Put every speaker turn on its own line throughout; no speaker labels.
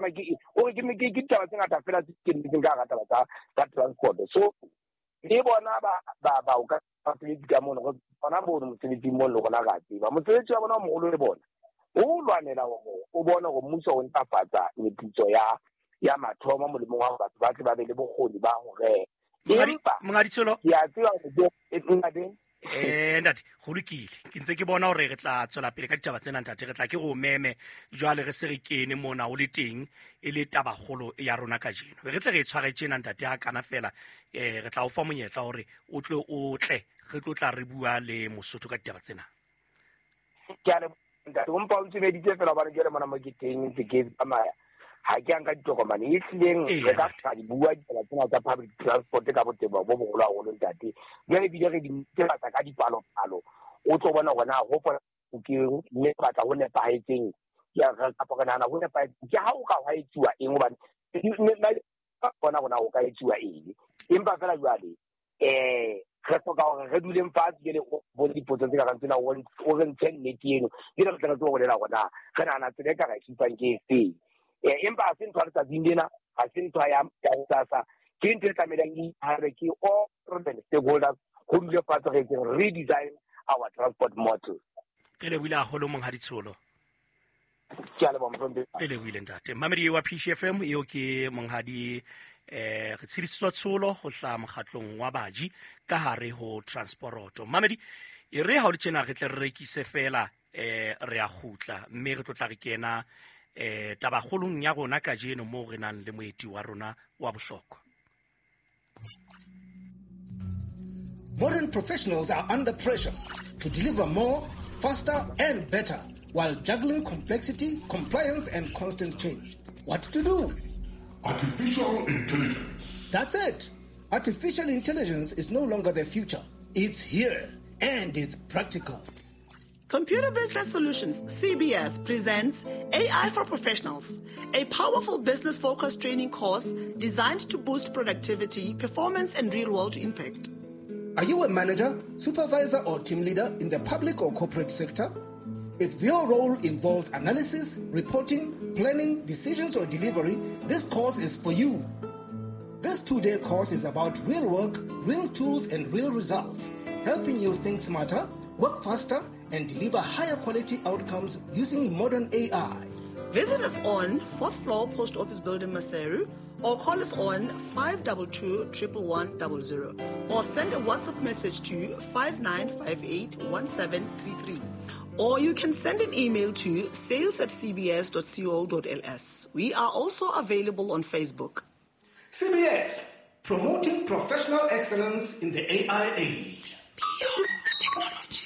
tsamaya ke ore ke ke ditaba tse ngata fela tse ke nnetseng ka hara taba tsa transport. So le bona ba o ka basebetsi ka mono, bona bono mosebetsing mono le rona re a tseba mosebetsi wa bona o moholo le bona o lwanela hore o bone hore mmuso o ntlafatsa meputso ya mathomo molemong wa batho ba tle ba be le bokgoni ba ho reka. Empa
Monghadi Tsholo,
ke a tseba hore ntate
ntate, go lokile, ke ntse ke bona hore re tla tswela pele ka ditaba tsena ntate, re tla ke go meme jwale re se re kene mona o le teng e le tabakgolo ya rona kajeno, re tle re e tshware tjena ntate ha kana fela, re tla o fa monyetla hore o tle o tle re tlo tla re bua le Mosotho ka ditaba tsena.
Ke a leboha ntate, o mpa o ntsumeditse fela hobane jwale mona mo ke teng ntse ke tsamaya, ha ke a nka ditokomane e hlileng re ka tla di bua ditaba tsena tsa public transport ka botebo bo boholo haholo ntate. Jwale ebile re di netefatsa ka dipalopalo, o tlo bona hore na ho ke mme batla ho nepahetseng kapa re nahana ho nepahetseng ke ha o ka hwa etsuwa eng, hobane bona hore na ho ka etsuwa eng. Empa fela jwale re hloka hore re duleng fatshe jwale o bone dipotso tse ka reng tsena, o re ntshe nnete eno, jwale re tle re tsebe ho bolela hore na re nahana tsela e ka re supang ke efeng. Empa ha se ntho ya letsatsing lena, ha se ntho ya hosasa, ke ntho e tlamehileng e iphare ke all relevant stakeholders, ho dule fatshe re etseng redesign our transport model.
Re lebohile haholo Monghadi Tsholo.
Ke a leboha, mohlomphehi.
Re lebohile ntate. Mamedi wa PCFM, eo ke Monghadi re tshedisitswe Tsholo ho hlaha mokgatlong wa baji ka hare ho transporoto. Mamedi, e re ha o le tjena re tle re rekise fela, re a kgutla mme re tlo tla re kena tabakgolong ya rona kajeno moo re nang le moeti wa rona wa bohlokwa.
Modern professionals are under pressure to deliver more, faster and better while juggling complexity, compliance and constant change. What to do?
Artificial intelligence.
That's it. Artificial intelligence is no longer the future. It's here and it's practical.
Computer Business Solutions, CBS, presents AI for Professionals, a powerful business-focused training course designed to boost productivity, performance, and real-world impact.
Are you a manager, supervisor, or team leader in the public or corporate sector? If your role involves analysis, reporting, planning, decisions, or delivery, this course is for you. This 2-day course is about real work, real tools, and real results, helping you think smarter, work faster, and deliver higher quality outcomes using modern AI.
Visit us on 4th floor Post Office Building, Maseru, or call us on 522 111 00, or send a WhatsApp message to 5958 1733. Or you can send an email to sales@cbs.co.ls. We are also available on Facebook.
CBS, promoting professional excellence in the AI age.
Beyond technology.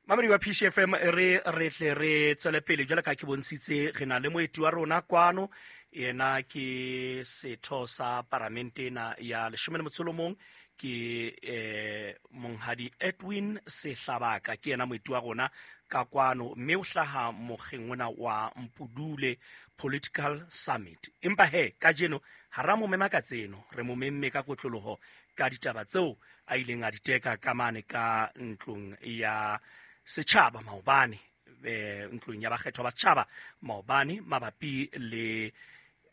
Mamedi wa PCFM, re tle re tswele pele jwale ka ke bontshitse re na le moeti wa rona kwano, yena ke setho sa paramente ena ya 13 ke Monghadi Edwin Sehlabaka, ke yena moeti wa rona ka kwano, mme o hlaha mokgeng ona wa Mpudule Political Summit. Empa he kajeno ha ra mo mema ka tseno, re mo memme ka kotloloho ka ditaba tseo a ileng a di teka ka mane ka ntlong ya setjhaba maobane, ntlong ya bakgethwa ba setjhaba maobane mabapi le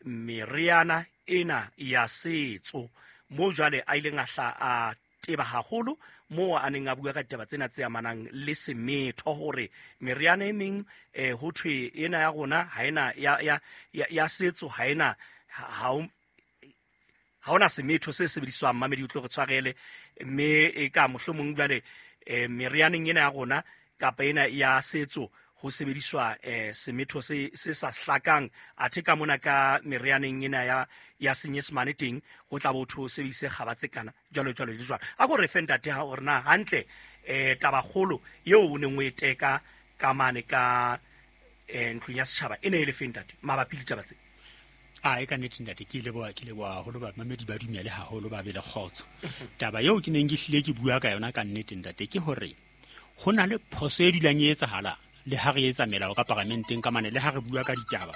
meriana ena ya setso, moo jwale a ileng a hla a teba haholo moo a neng a bua ka ditaba tsena tse amanang le semetho, hore meriana e meng ho thwe ena ya rona ha ena ya setso, ha ena, ha hona semetho se sebediswang. Mamedi o tlo re tshwarele, mme e ka mohlomong jwale merianeng ena ya rona kapa ena ya setso ho sebediswa semetho se sa hlakang, athe ka mona ka merianeng ena ya senyesemane teng ho tla bo ho sebedise kgaba tse kana jwalo jwalo le jwalo. A ko re fe ntate ha hore na hantle tabakgolo eo o neng o e teka ka mane ka ntlong ya setjhaba e ne e le fe ntate mabapi le ditaba tse?
A e ka nnete ntate, ke leboha haholo, bamamedi ba dumele haholo, ba be le kgotso. Taba eo ke neng ke hlile ke bua ka yona ka nnete ntate ke hore ho na le phoso e dulang e etsahala le ha re etsa melao ka paramenteng ka mane, le ha re bua ka ditaba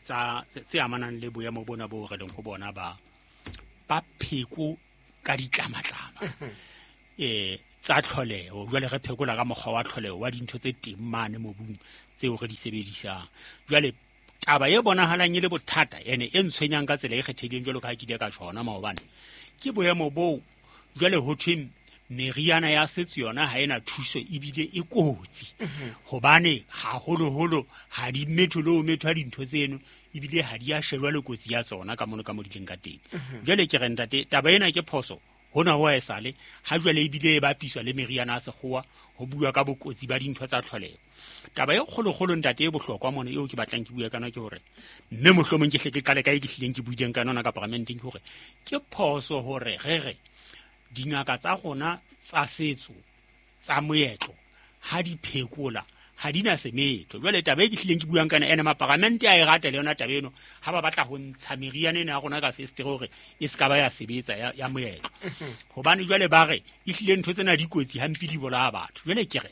tsa tse amanang le boemo bona bo re leng ho bona ba pheko ka ditlamatlama. tsa tlholeho. Jwale re phekola ka mokgwa wa tlholeho wa dintho tse teng mane mobung tseo re di sebedisang. Jwale taba e bonahalang e le bothata ene e ntshwenyang ka tsela e kgethehileng jwalo ka ha ke ile ka tjhona maobane, ke boemo boo jwale ho thweng meriana ya setso yona ha ena thuso ebile e kotsi, hobane haholoholo ha di metho le ho methwa dintho tseno, ebile ha di a shejwa le kotsi ya tsona ka mono ka mo di leng ka teng. Jwale ke re ntate, taba ena ke phoso hona ho esale ha jwale ebile e bapiswa le meriana ya sekgowa ho bua ka bokotsi ba dintho tsa tlholeho. Taba e kgolokgolo ntate e bohlokwa mona eo ke batlang ke bue ka yona ke hore, mme mohlomong ke hle ke qale ka e ke hlileng ke buileng ka yona ka paramenteng, ke hore ke phoso hore re re dingaka tsa rona tsa setso tsa moetlo ha di phekola ha di na semetho. Jwale taba e ke hlileng ke buang ka yona ene maparamente a e rata le yona taba eno, ha ba batla ho ntsha meriana ena ya rona ka festere hore e se ka ba ya sebetsa ya moetlo, hobane jwale ba re e hlile ntho tsena di kotsi hampe di bolaya batho. Jwale ke re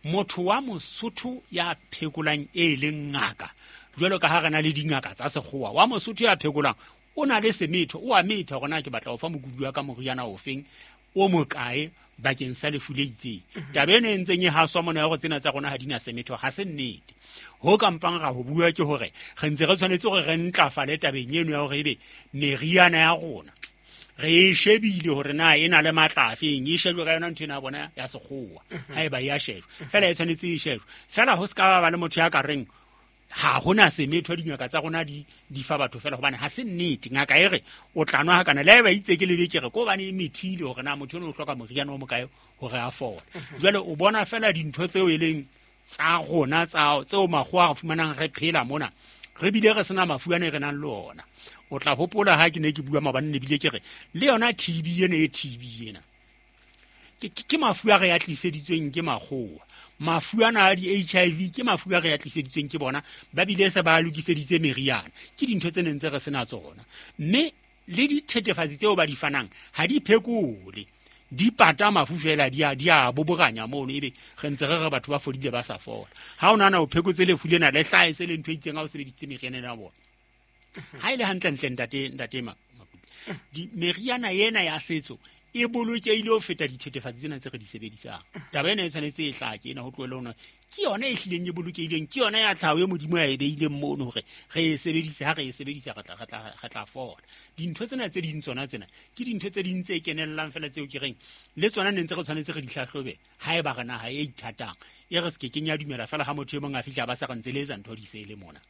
motho wa Mosotho ya phekolang e leng ngaka, jwalo ka ha re na le dingaka tsa sekgowa, wa Mosotho ya phekolang o na le semetho, o a metha hore na ke batla ho fa mokudi wa ka moriana ofeng o mokae bakeng sa lefu le itseng. Taba ena e ntseng e haswa mona ya hore tsena tsa rona ha di na semetho ha se nnete. Ho ka mpang ra ho bua ke hore re ntse re tshwanetse hore re ntlafale tabeng eno ya hore ebe meriana ya rona re e shebile hore na e na le matla afeng, e shejwe ka yona ntho ena ya bona ya sekgowa, haeba e a shejwa fela e tshwanetse e shejwe fela. Ho se ka ba le motho ya ka reng ha hona semetho dingaka tsa rona di fa batho fela, hobane ha se nnete. Ngaka e re o tla nwa hakana le haeba itse ke lebe ke re ko hobane e methile hore na motho ono o hloka moriana o mokae hore a fole. Jwale o bona fela dintho tseo e leng tsa rona tseo makgowa a re fumanang re phela mona, re bile re sena mafu ane re nang le ona. O tla hopola ha ke ne ke bua maobane ne bile ke re le yona TB ena e TB ena ke mafu a re a tliseditsweng ke makgowa. Mafu ana a di-HIV ke mafu a re a tliseditsweng ke bona, ba bile se ba lokiseditse meriana. Ke dintho tse neng tse re sena tsona, mme le dithethefatsi tseo ba di fanang ha di phekole, di pata mafu fela, di a boboranya mono, ebe re ntse re re batho ba fodile ba sa fola. Ha o nahana o phekotse lefu lena le hlahe se le ntho e itseng ha o sebedisitse meriana ena ya bona. Ha e le hantlentle ntate Makutle, meriana ena ya setso e bolokehile ho feta dithethefatsi tsena tse re di sebedisang. Taba ena e tshwanetse e hlake ena ho tlohele hona, ke yona e hlileng e bolokehileng, ke yona ya tlhaho e Modimo a e beileng mono hore re e sebedise. Ha re e sebedisa re tla fola. Dintho tsena tse ding tsona tsena ke dintho tse ding tse kenellang fela tseo ke reng le tsona ne ntse re tshwanetse re di hlahlobe haeba re naha e ithatang. E re se ke kenya dumela fela ha motho e mong a fihla ba sa re ntse le etsa ntho di se le mona.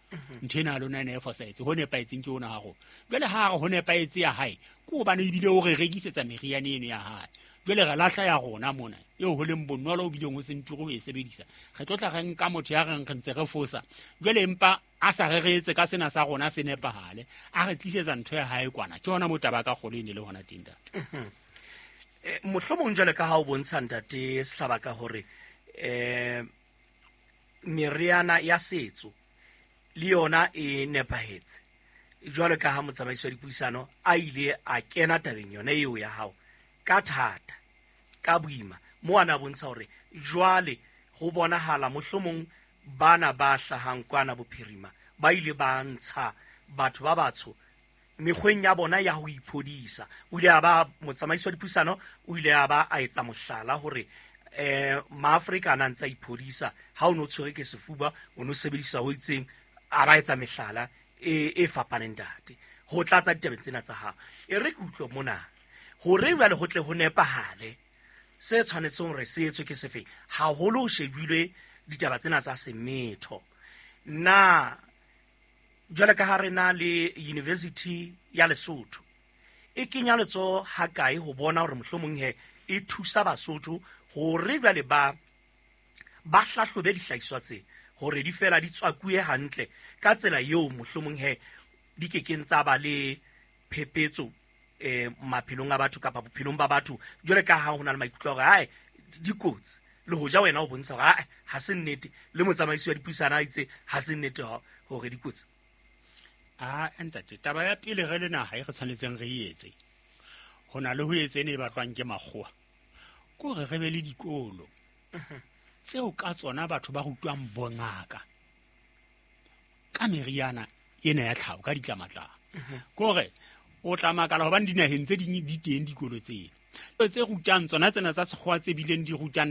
Ntho ena lona ene e fosahetse, ho nepahetseng ke ona ha rona. Jwale ha re ho nepahetse ya hae, ke hobane ebile o re rekisetsa meriana eno ya hae. Jwale re lahla ya rona mona eo ho leng bonolo o bileng ho se nturo ho e sebedisa. Re tlo tla re nka motho ya reng re ntse re fosa, jwale empa a sa re reetse ka sena sa rona se nepahale, a re tlisetsa ntho ya hae kwana. Ke hona moo taba ka kgolo e ne le hona teng ntate.
Mohlomong jwale ka ha o bontsha ntate Sehlabaka hore meriana ya setso le yona e nepahetse, jwalo ka ha motsamaisi wa dipuisano a ile a kena tabeng yona eo ya hao ka thata ka boima, mo ana bontsha hore jwale ho bonahala mohlomong bana ba hlahang kwana bophirima ba ile ba ntsha batho ba batsho mekgweng ya bona ya ho iphodisa. O ile a ba motsamaisi wa dipuisano o ile a ba a etsa mohlala hore maAfrika a na ntse a iphodisa, ha o no tshwere ke sefuba o no sebedisa ho itseng, a ba etsa mehlala e fapaneng ntate ho tlatsa ditabeng tsena tsa hao. E re ke utlwe mona hore jwale ho tle ho nepahale se tshwanetseng hore se etswe ke sefeng, haholo ho shebilwe ditaba tsena tsa semetho. Na jwale ka ha re na le University ya Lesotho e kenya letsoho ha kae ho bona hore mohlomong he e thusa Basotho hore jwale ba hlahlobe dihlahiswa tse hore di fela di tswakuwe hantle ka tsela eo mohlomong he di kekeng tsa ba le phepetso maphelong a batho kapa bophelong ba batho, jwale ka ha ho na le maikutlo a hore hae di kotsi, le hoja wena o bontsha hore hae ha se nnete, le motsamaisi wa dipuisano a itse ha se nnete hore di kotsi.
Ntate, taba ya pele re le naha e re tshwanetseng re etse ho na le ho etse ene e batlwang ke makgowa, ke hore re be le dikolo tseo ka tsona batho ba rutwang bongaka ka meriana ena ya tlhaho ka ditlamatlama. Ke hore o tla makala hobane dinaheng tse ding di teng dikolo tseno. Tse rutang tsona tsena tsa sekgowa tse bileng di rutang.